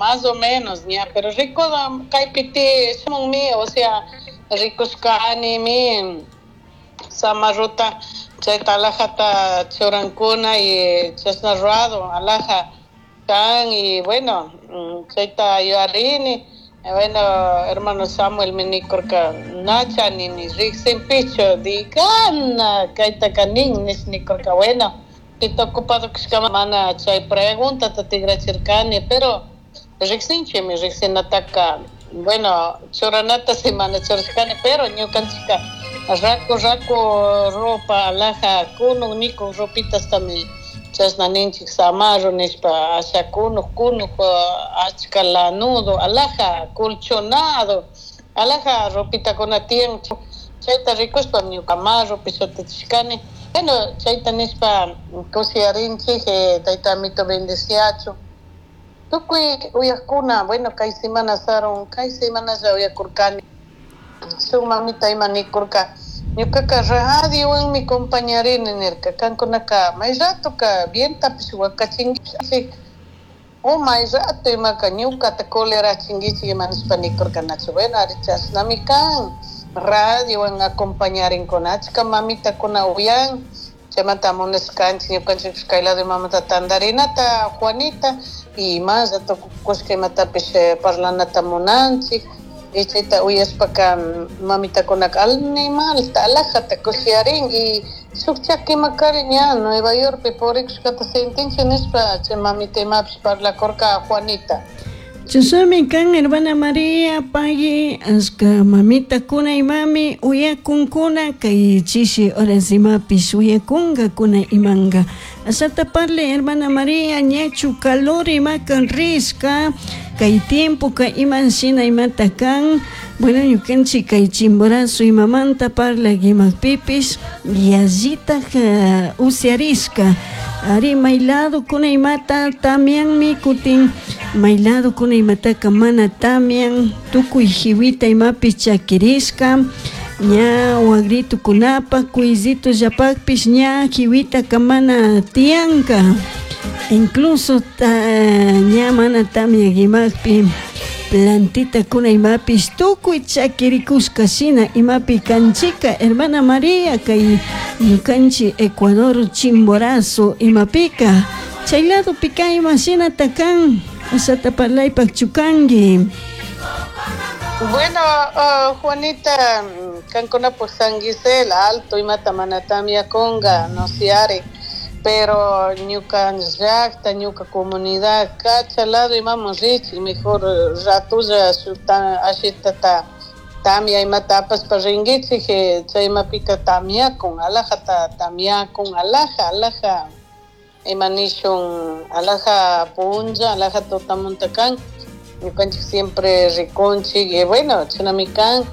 Más o menos ña, pero rico kaypi shamunmi, o sea, rikushkanimi samarruta chayta alhajata churankuna y chashna rurado alhaja kan y bueno, chayta yuyarini. Bueno, hermano Samuel mi nikurka nacha nini riqsinpichu digana kaytaka nin nish nikurka. Bueno, pita ocupado kashkama mana chay preguntata tigrachirkani, pero riqsinchikmi riqsinataka. Bueno, churanata si mana churashkani, pero ñukanchikka raku raku ropa alhaja kunuk nikuk ropitastami chashna ninchik samarro nishpa, asha kunuk kunuk, achka lanudo, alhaja colchonado, alhaja ropitakuna tiyan. Chayta rikushpa ñuka marropi shutichishkani. Bueno, chayta nishpa kushiyarinchik. Tayta amito bendeciachun tukuy uyakuna. Bueno, kay semana sarun, kay semanalla uyakurkani shuk mamita ima nikurka: "Ñukaka radiowanmi compañarini", nirka. "Kankunaka may ratoka bientapish wakachinkichik o may rato imaka ñukata colerachinkichik", ima nishpa nikurka, nachu? Bueno, ari, chashnami kan, radiowan acompañarinkuna, achka mamitakuna uyan. Chaymanta munashkanchik ñukanchikpish kay lado imamanta tandarinata, Juanita, y más tukushka imatapish parlanata munanchik. Y chayta uyashpaka mamitakunaka animalta alhajata kushiyarin y shuk chakimakari ña Nueva Yorkpi purikushkata sentinchik nishpa chay mamita imapish parlakurka, Juanita. Chashnami kan, hermana María, pagui. Ashka mamitakuna imami uyakunkuna kay chishi horas, imapish uyakunkakuna imanka. Ashata parle, hermana María, ñachu calor imaka rishka kay tiempoka? Iman shina imata kan? Bueno, ñukanchik kay Chimborazo imamanta parlak imakpipish yallitaj usiarishka. Ari, may ladokuna imata tamianmi, kutin may ladokuna imataka mana tamian. Tukuy jiwita imapish chakirishka ña, wagritukunapak, kuyzitullapakpish ña jiwitaka mana tiyanka. Incluso ña mana tamia imakpi plantitakuna imapish tukuy chakirikushka shina imapi kanchika, hermana María, kay ñukanchik Ecuador Chimborazo imapika. Chay ladopika ima shinata kan? Ashata parlaypak chukanki. Bueno, Juanita, kankunapak San Gisel Alto imata mana tamiakunga, no siari, pero ñuka llakta, ñuka comunidad Cacha lado imaman richik mejor ratulla ashitata tamia imata apashpa ringuichik. Chay imapika tamiakun, alhajata tamiakun, alhaja alhaja, ima nishun, alhaja punlla, alhaja tutamunta kan. Ñukanchik siempre rikunchik y bueno, chashnami kan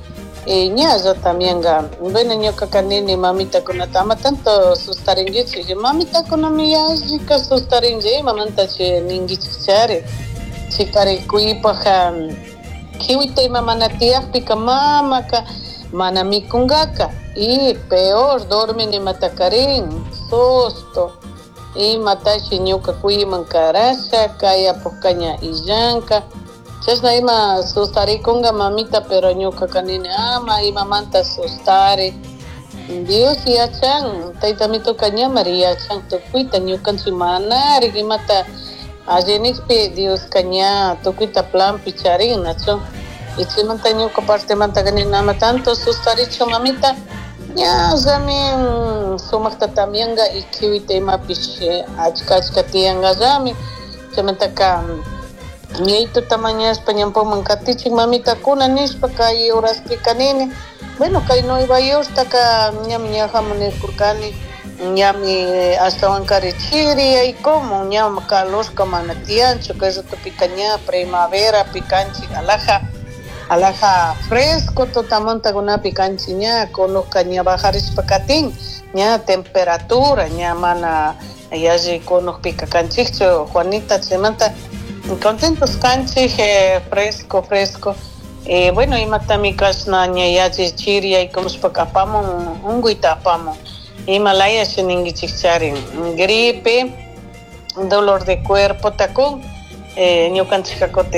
y ñalla tamianga. Bueno, ñukaka nini mamitakunata ama tanto sustaringuichik. Mamitakunami yallika sustarinchik, imamantachi ninguichik chari. Chikari kuypaj kiwita ima mana tiyakpika mamaka mana mikunkaka y peor dormin imatakarin susto, imatashi ñuka kuyman karasha kay apukka ña illanka, chashna ima sustarikunga mamita. Pero ñukaka nini ama imamanta sustari, Dios yachan, tayta mituka ñamari yachan tukuyta. Ñukanchik manari imata alli nikpi Dioska ña tukuyta planpi charin, nachu? Y chaymanta ñuka partemantaka nini ama tanto sustarichu, mamita, ñallami sumakta tamianga y kiwita imapish achka achka tiyankallami. Chaymantaka ñaytuta mañashpa ñampuman katichik mamitakuna nishpa kay horaspika nini. Bueno, kay Nueva Yorktaka ñami ñajamun nirkurkani, ñami ashtawankari chiriyaykumun, ña calorka mana tiyanchu. Kay ratopika ña primaverapi kanchik, alhaja alhaja fresco tutamantakunapi kanchik. Ña kunukka ña bajarishpa katin, ña temperatura ña mana yalli kunukpika kanchikchu, Juanita. Chaymanta contentos kanchik, fresco fresco. Bueno, imatami kashna ña yalli chiriyaykamushpaka apamun unkuyta, apamun ima layashi ninguichik charin, gripe, dolor de cuerpo takun ñukanchikka kutin.